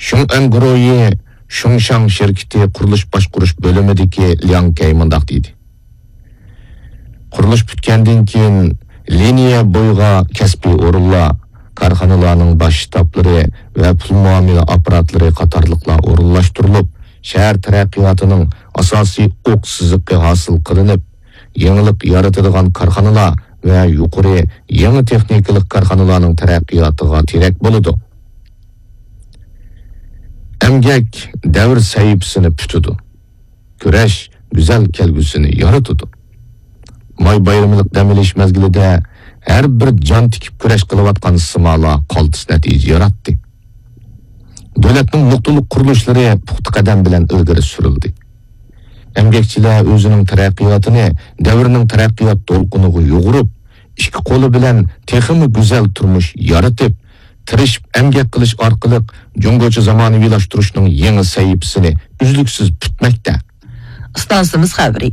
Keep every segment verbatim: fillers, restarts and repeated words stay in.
شۇڭئەن گۇرۇھى شۇڭشاڭ شىركىتى قۇرۇلۇش باشقۇرۇش بۆلۈمىدىكى لياڭ كەي مۇنداق دېدى: قۇرۇلۇش پۈتكەندىن كېيىن، لىنىيە بويىغا كەسپىي ئورۇنلار، كارخانىلارنىڭ باش شتابلىرى ۋە پۇل مۇئامىلە ئاپپاراتلىرى قاتارلىقلار ئورۇنلاشتۇرۇلۇپ، شەھەر تەرەققىياتىنىڭ ئاساسىي ئوق سىزىقى ھاسىل قىلىنىپ، يېڭىلىق يارىتىدىغان كارخانىلار ۋە يۇقىرى يېڭى تېخنىكىلىق كارخانىلارنىڭ تەرەققىياتىغا تىرەك بولىدۇ. ئەمگەك دەۋر سەھىپىسىنى پۈتىدۇ. كۈرەش گۈزەل كەلگۈسىنى يارىتىدۇ. ماي بايرىملىق دەم ئېلىش مەزگىلىدە ھەر بىر جان تىكىپ كۈرەش قىلىۋاتقان سىمالار قالتىس نەتىجە ياراتتى. دۆلەتنىڭ نۇقتىلىق قۇرۇلۇشلىرى پۇختا قەدەم بىلەن ئىلگىرى سۈرۈلدى. ئەمگەكچىلەر ئۆزىنىڭ تەرەققىياتىنى دەۋرنىڭ تەرەققىيات دولقۇنىغا يۇغۇرۇپ، ئىككى قولى بىلەن تېخىمۇ گۈزەل تۇرمۇش يارىتىپ، تىرىشىپ ئەمگەك قىلىش ئارقىلىق جۇڭگوچە زامانىۋىلاشتۇرۇشنىڭ يېڭى سەھىپىسىنى ئۈزلۈكسىز پۈتمەكتە. ئىستانسىمىز خەۋىرى.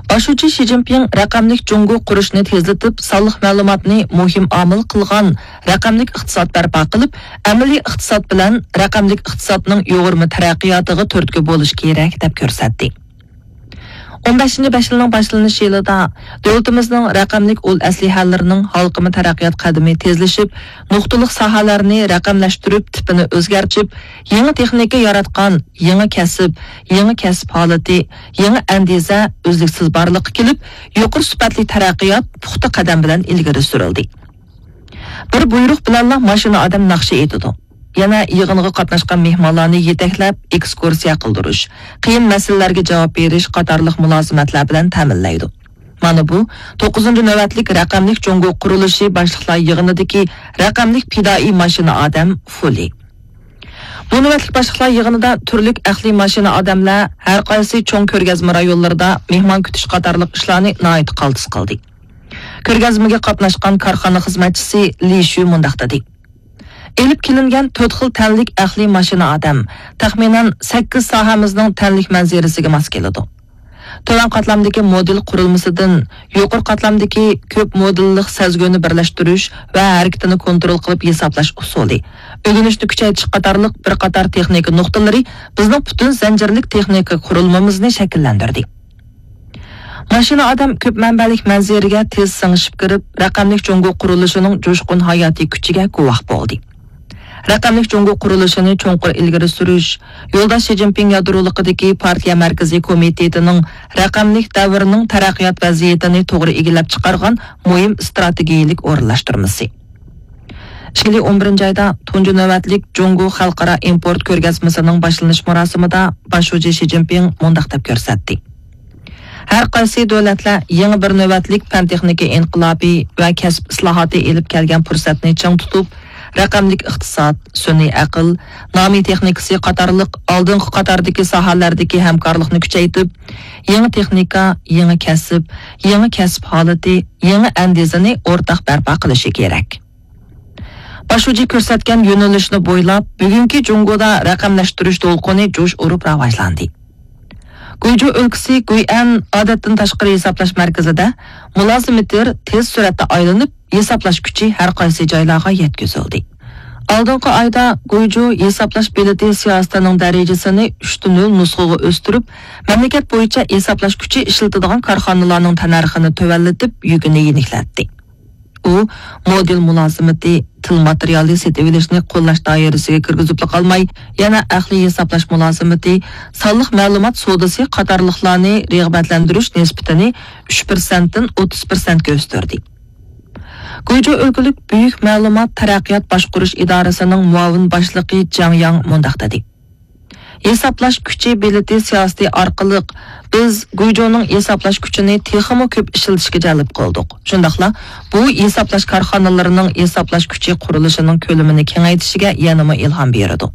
باش شۇجى شى جىنپىڭ رەقەملىك جۇڭگو قۇرۇشنى تېزلىتىپ، سانلىق مەلۇماتنى مۇھىم ئامىل قىلغان رەقەملىك ئىقتىساد بەرپا قىلىپ، ئەمەلىي ئىقتىساد بىلەن رەقەملىك ئىقتىسادنىڭ يۇغۇرما تەرەققىياتىغا تۈرتكە بولۇش كېرەك، دەپ كۆرسەتتى. ئون بەشىنچى بەش يىلنىڭ باشلىنىش يىلىدا دۆلىتىمىزنىڭ رەقەملىك ئۇل ئەسلىھەلىرىنىڭ ھالقىما تەرەققىيات قەدىمى تېزلىشىپ، نۇقتىلىق ساھەلەرنى رەقەملەشتۈرۈپ، تىپىنى ئۆزگەرتىپ، يېڭى تېخنىكا ياراتقان، يېڭى كەسىپ، يېڭى كەسىپ ھالىتى، يېڭى ئەندىزە ئۈزلۈكسىز بارلىققا كېلىپ، يۇقىرى سۈپەتلىك تەرەققىيات پۇختا قەدەم بىلەن ئىلگىرى سۈرۈلدى. بىر بۇيرۇق بىلەنلا ماشىنا ئادەم ناخشا ئېيتىدۇ. يەنە يىغىنغا قاتناشقان مېھمانلارنى يېتەكلەپ، ئېكسكۇرسىيە قىلدۇرۇش، قىيىن مەسىلىلەرگە جاۋاب بېرىش قاتارلىق مۇلازىمەتلەر بىلەن تەمىنلەيدۇ. مانا بۇ توققۇزىنچى نۆۋەتلىك رەقەملىك جۇڭگو قۇرۇلۇشى باشلىقلار يىغىنىدىكى رەقەملىك پىدائىي ماشىنا ئادەم فۇلى. بۇ نۆۋەتلىك باشلىقلار يىغىنىدا تۈرلۈك ئەقلىي ماشىنا ئادەملەر ھەر قايسى چوڭ كۆرگەزمە رايونلىرىدا مېھمان كۈتۈش قاتارلىق ئىشلارنى ناھايىتى قالتىس قىلدى. كۆرگەزمىگە قاتناشقان كارخانا خىزمەتچىسى لى شۈ مۇنداق دېدى: ئېلىپ كېلىنگەن تۆت خىل تەنلىك ئەقلىي ماشىنا ئادەم، تەخمىنەن، سەككىز ساھەمىزنىڭ تەنلىك مەنزىرىسىگە ماس كېلىدۇ. تۆۋەن قاتلامدىكى مودېل قۇرۇلمىسىدىن يۇقىرى قاتلامدىكى كۆپ مودېللىق سەزگۈنى بىرلەشتۈرۈش ۋە ھەرىكىتىنى كونترول قىلىپ ھېسابلاش ئۇسۇلى، ئۆگىنىشنى كۈچەيتىش قاتارلىق بىر قاتار تېخنىكا نۇقتىلىرى بىزنىڭ پۈتۈن زەنجىرلىك تېخنىكا قۇرۇلمىمىزنى شەكىللەندۈردى. ماشىنا ئادەم كۆپ مەنبەلىك مەنزىرىگە تېز سىڭىشىپ كىرىپ، رەقەملىك جۇڭگو قۇرۇلۇشىنىڭ جۇشقۇن ھاياتىي كۈچىگە گۇۋاھ بولدى. رەقەملىك جۇڭگو قۇرۇلۇشىنى چوڭقۇر ئىلگىرى سۈرۈش، يولداش شى جىنپىڭ يادرولۇقىدىكى پارتىيە مەركىزىي كومىتېتىنىڭ رەقەملىك دەۋرنىڭ تەرەققىيات ۋەزىيىتىنى توغرا ئىگىلەپ چىقارغان مۇھىم ئىستراتېگىيىلىك ئورۇنلاشتۇرمىسى. ئىككى مىڭ ئون بىرىنچى ئايدا تۇنجى نۆۋەتلىك جۇڭگو خەلقئارا ئىمپورت كۆرگەزمىسىنىڭ باشلىنىش مۇراسىمىدا باش شۇجى شى جىنپىڭ مۇنداق دەپ كۆرسەتتى: ھەر قايسى دۆلەتلەر يېڭى بىر نۆۋەتلىك پەن-تېخنىكا ئىنقىلابى ۋە كەسىپ ئىسلاھاتى ئېلىپ كەلگەن پۇرسەتنى چىڭ تۇتۇپ، رەقەملىك ئىقتىساد، سۈنئىي ئەقىل، نامىي تېخنىكىسى قاتارلىق ئالدىنقى قاتاردىكى ساھەلەردىكى ھەمكارلىقنى كۈچەيتىپ، يېڭى تېخنىكا، يېڭى كەسىپ، يېڭى كەسىپ ھالىتى، يېڭى ئەندىزىنى ئورتاق بەرپا قىلىشى كېرەك. باش شۇجى كۆرسەتكەن يۆنىلىشنى بويلاپ، بۈگۈنكى جۇڭگودا رەقەملەشتۈرۈش دولقۇنى جۇش ئۇرۇپ راۋاجلاندى. گۇيجۇ ئۆلكىسى گۇيئەن ئادەتتىن تاشقىرى ھېسابلاش مەركىزىدە مۇلازىمېتىر تېز سۈرئەتتە ئايلىنىپ، ھېسابلاش كۈچى ھەر قايسى جايلارغا يەتكۈزۈلدى. ئالدىنقى ئايدا گۇيجۇ ھېسابلاش بېلىتى سىياسىتىنىڭ دەرىجىسىنى ئۈچتە نۆل نۇسخىغا ئۆستۈرۈپ، مەملىكەت بويىچە ھېسابلاش كۈچى ئىشلىتىدىغان كارخانىلارنىڭ تەننەرخىنى تۆۋەنلىتىپ، يۈكىنى يېنىكلەتتى. ئۇ مودېل مۇلازىمىتى، تىل ماتېرىيالى سېتىۋېلىشنى قوللاش دائىرىسىگە كىرگۈزۈپلا قالماي، يەنە ئەقلىي ھېسابلاش مۇلازىمىتى، سانلىق مەلۇمات سودىسى قاتارلىقلارنى رىغبەتلەندۈرۈش نىسبىتىنى ئۈچ پىرسەنتتىن ئوتتۇز پىرسەنتكە ئۆستۈردى. گۇيجۇ ئۆلكىلىك بۈيۈك مەلۇمات تەرەققىيات باشقۇرۇش ئىدارىسىنىڭ مۇئاۋىن باشلىقى جاڭ ياڭ مۇنداق دېدى: ھېسابلاش كۈچى بېلىتى سىياسىتى ئارقىلىق بىز گۇيجۇنىڭ ھېسابلاش كۈچىنى تېخىمۇ كۆپ ئىشلىتىشكە جەلپ قىلدۇق. شۇنداقلا بۇ ھېسابلاش كارخانىلىرىنىڭ ھېسابلاش كۈچى قۇرۇلۇشىنىڭ كۆلىمىنى كېڭەيتىشىگە يەنىمۇ ئىلھام بېرىدۇ.